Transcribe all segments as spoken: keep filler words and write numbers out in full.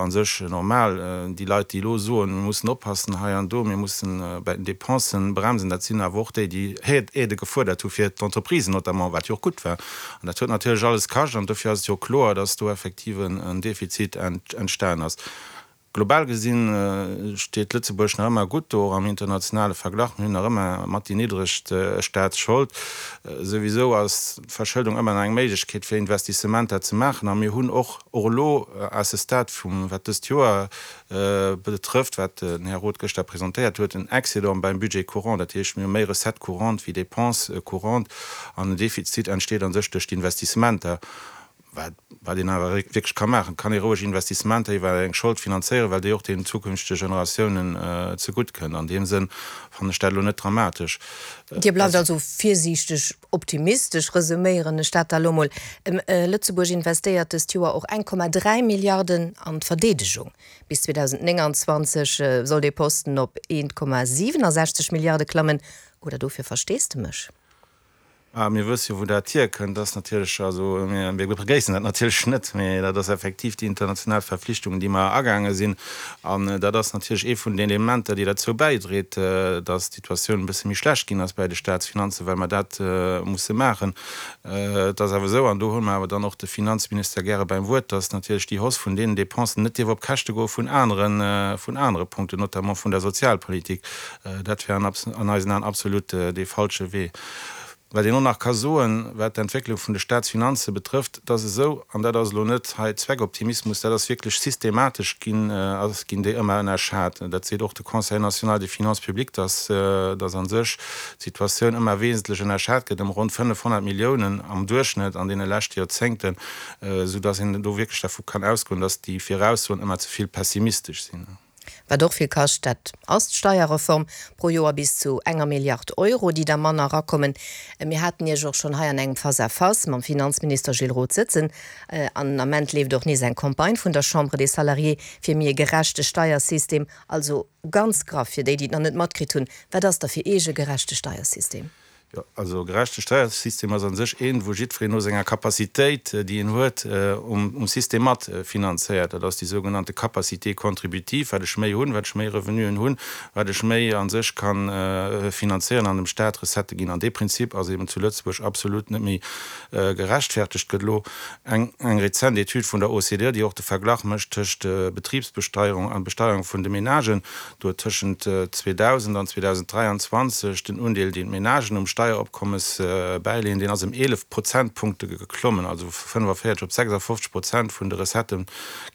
jo a sech normal. Déi Leit, déi elo soen, mir mussen oppassen hei an do, mir mussen bei den Dépensen bremsen, dat sinn awer och déi, déi Aidë gefuerdert hu fir d'Entreprisen notamment, wat jo och gutt war. An dat huet natierlech alles kascht an dofir ass et jo kloer, dass do effektiv en Defizit entstanen ass. Global gesinn steet Lëtzebuerg nach ëmmer gutt do, och am internationale Verglach. Mir hunn nach ëmmer mat déi niddregst Staatsschold. Souwisou ass d'Verschëldung ëmmer nach eng Méiglechkeet fir Investissementer ze maachen. A mir hunn och och elo à ce stade vum, wat dëst Joer betrëfft, wat den Här Roth gëschter presentéiert huet, en Excédent beim Budget courant. Dat heescht, mir hu méi Recettes courantes wéi Dépenses courantes an den Defizit entsteet a sech duerch d'Investissementer. Wat wat een awer wierklech ka maachen, kann ee roueg Investissementer iwwer eng Schold finanzéieren, well déi och den zukünftege Generatiounen zegutt kënnt. An deem Sënn fannen ech dat elo net dramatesch. Dir bleift also virsiichteg optimistesch, resuméieren ech dat da elo mol. Lëtzebuerg investéiert dëst Joer och eng Komma dräi Milliarden an d'Verdeedegung. Bis zweedausendnénganzwanzeg soll dee Posten op eent Komma siwenasechzeg Milliarde klammen. Oder dofir Versteesdemech? Ah, mir wësse jo, wou dat hierkënnt. Dat ass natierlech, also mir begréissen dat natierlech net, mee dat ass effektiv déi international Verflichtungen, déi mer agaange sinn. An dat ass natierlech ee vun den Elementer, déi derzou bäidréit, datt d'Situatioun e bësse méi schlecht ginn ass bei de Staatsfinanzen, well mer dat musse maachen. Et ass awer esou, an do huele mer awer dann och de Finanzminister gäre beim Wuert, datt natierlech déi Hausse vun deenen Dépensen net dierf op Käschte goe vun aneren, vun anere Punkten, notamment vun der Sozialpolitik. Dat wär an eisen Aen absolut dee falsche Wee. Wat een och nach ka soen, wat d'Entwécklung vun de Staatsfinanze betrëfft, et ass esou, an dat ass elo net hei Zweckoptimismus, dat ass wierklech systematesch ginn, ass, ginn déi ëmmer ënnerschat. Dat seet och de Conseil national des finances publiques, dass, dass a sech d'Situatioun ëmmer wesentlech ënnerschat gëtt, ëm ronn fënnefhonnert Milliounen am Duerchschnëtt an deene leschte Joerzéngten, soudass een do wierklech dervu kann ausgoen, dass déi Viraussoen ëmmer ze vill pessimistesch sinn. Wat och vill kascht, dat ass d'Steierreform, pro Joer bis zu enger Milliard Euro, déi da manner erakommen. Mir haten Iech och schonn hei an engem Face-à-face mam Finanzminister Gilles Roth sëtzen. An den Ament leeft och nees eng Campagne vun der Chambre des Salariés fir méi e gerechte Steiersystem. Also ganz graff, fir déi, déi et nach net matkritt hunn, Wat ass da fir Iech e gerechte Steiersystem? Jo, also e gerechte Steiersystem ass a sech een, wou jiddwereen no senger Capacitéit, déi en huet, um System mat finanzéiert. Dat ass déi sougenannte Capacité contributive, wat ech méi hunn, wat ech méi Revenuen hunn, wat ech méi a sech ka finanzéieren an dem Staat Recettë ginn. An dee Prinzip ass eben zu Lëtzebuerg absolut net méi gerechtfertegt. Gëtt elo eng rezent Etüd vun der O C D E, déi och de Verglach mécht tëscht Betribsbesteierung an Besteierung vun de Menagen, do huet tëschent zweedausend an zweedausenddräianzwanzeg den Undeel, deen d'Menagen um Steieropkommes bäileeën, deen ass ëm eelef Prozentpunkte geklommen, also vu fënnefavéierzeg op sechsafofzeg Prozent vun de Recettë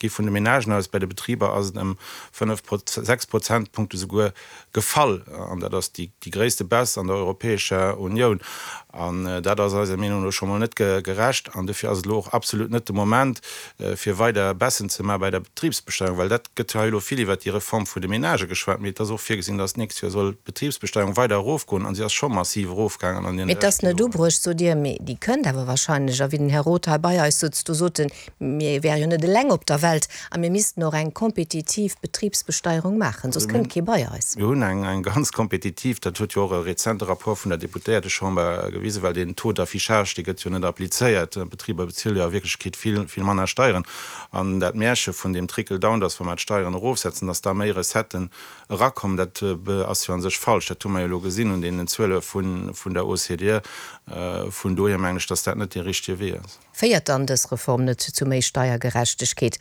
gi vun de Menagen aus. Bei de Betriber ass et ëm fënnef, sechs Prozentpunkte souguer gefall, an dat ass déi gréisste Baisse an der Europäescher Unioun. An dat ass eiser Meenung no scho mol net gerecht. An dofir ass et elo och absolut net de Moment, fir weider Baissen ze maache bei der Betribsbesteierung, well dat gëtt hei elo vill iwwert déi Reform vun de Menagë geschwat, mee et ass och virgesinn, dass d'nächst Joer soll d'Betribsbesteierung weider erofgoen, a si ass scho massiv erofgaangen an deene Mee et ass leschte net Joren. Ubruecht, sot Dir, mee déi kënnt awer wahrscheinlech. A wéi den Här Roth hei bei eis sutz, do sot en, mir wäre jo net eleng op der Welt a mir missten och eng kompetitiv Betribsbesteierung maachen, soss kënnt kee bei eis. Mir hunn eng ganz kompetitiv, dat huet jo och e rezente Rapport vun der Deputéiertechamber gewisen, well deen Taux d'affichage, dee gëtt jo net applizéiert. D'Betriber bezuele jo a Wierklechkeet vill, vill manner Steieren. An dat Märche vun deem Trickle-down, dass wa mer d'Steieren erofsetzen, dass da méi Recetten erakommen, dat ass jo a sech falsch. Dat hu mer jo elo gesinn un deenen Zuele vun der O C D E. Vun dohier mengen ech, dass dat net dee richtege Wee ass. Féiert dann dës Reform net zu méi Steiergerechtegkeet?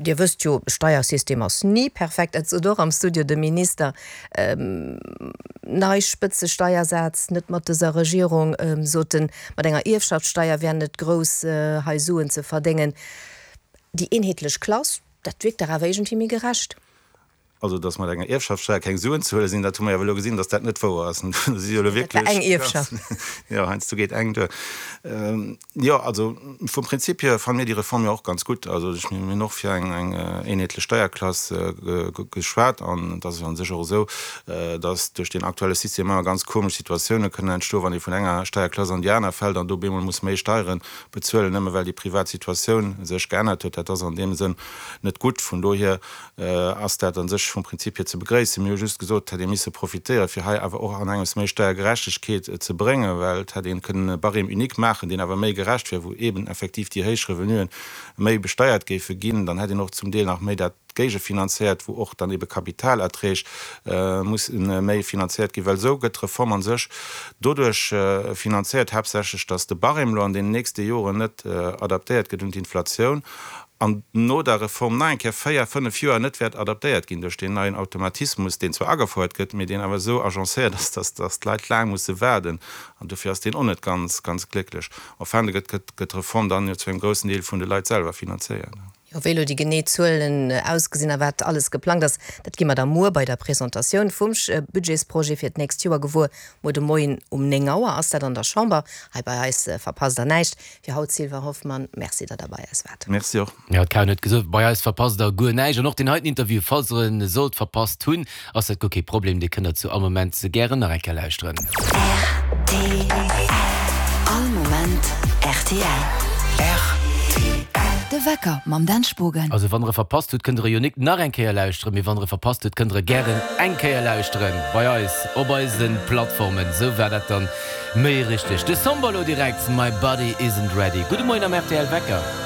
Dir wësst jo, Steiersystem ass ni perfekt, dat sot och am Studio de Minister. Nei Spëtzesteiersaz net mat dëser Regierung, sot en, mat enger Ierfschaftssteier wären net grouss hei Suen ze verdéngen. Déi eenheetlech Klass, dat wierkt dach awer iergendwéi méi gerecht. Also, dass mat enger Ierfschaftssteier keng Suen ze huele sinn, dat hu mer jo elo gesinn, dass dat net wouer ass. Do si jo elo Dat war wierklech eng Ierfschaft. Jo, heiansdo geet eng duer. Jo, also vum Prinzip hier fanne mir déi Reform jo och ganz gutt. Also ech, mir hunn och fir eng eng eenheetlech Steierklass geschwat an et ass jo a sech och esou, dass duerch deen aktuelle System ëmmer ganz komesch Situatioune kënnen entstoen, wann ee vun enger Steierklass an déi aner fält an do op eemol muss méi Steiere bezuelen, nëmme well déi privat Situatioun sech geännert huet. Dat ass an deem Sënn net gutt. Vun dohier ass dat a sech vum Prinzip hier ze begréissen. Mir hu just gesot, et hätt ee misse profitéieren, fir hei awer och an engems méi Steiergerechtegkeet ze bréngen, well et hätt ee kënnen e Barème unique maachen, deen awer méi gerecht wär, wou eeben effektiv déi héich Revenuen méi besteiert géife ginn. Dann hätt een och zum Deel nach méi dat géigefinanzéiert, wou och dann ebe Kapitalerträg mussen méi finanzéiert ginn, well esou gëtt d'Reform a sech doduerch finanzéiert haaptsächlech, datt de Barème elo an deenen nächste Joren net adaptéiert gëtt un d'Inflatioun an no der Reform nach eng Kéier véier, fënnef Joer net wäert adaptéiert ginn duerch deen neien Automatismus, deen zwar agefouert gëtt, mee deen awer esou agencéiert ass, datt datt d'Leit laang musse waarden. An dofir ass deen och net ganz, ganz glécklech. Enfin, gëtt gëtt d'Reform dann jo zu engem groussen Deel vun de Leit selwer finanzéiert. Jo, wéi elo déi genee Zuelen ausgesinn a wat alles geplangt ass, dat gi mer da muer bei der Presentatioun vum Budgetsprojet fir d'nächst Joer gewuer. Muer de Moien um néng Auer ass dat an der Chamber. Hei bei eis verpasst der näischt. Fir haut, Sylvain Hoffmann, Merci, datt der bei eis waart. Merci och. Jo, d'Karen huet gesot, bei eis verpasst der guer näischt. An och deen heiten Interview, falls der en sollt verpasst hunn, ass dat guer kee Problem, dee kënnt der zu all Moment gären nach eng Kéier lauschteren. Rtl, All Moment rtl. Rtl. De Wecker mam Dan Spogen. Also wann der e verpasst hutt, kënnt der e jo nik nach eng Kéier lauschteren, mee wann der e verpasst hutt, kënnt der e gären eng Kéier lauschteren bei eis op eisen Plattformen. Sou war dat dann méi richteg. De Somber lo direkt, My Body Isn't Ready. Gudde Moien am rtl Wecker.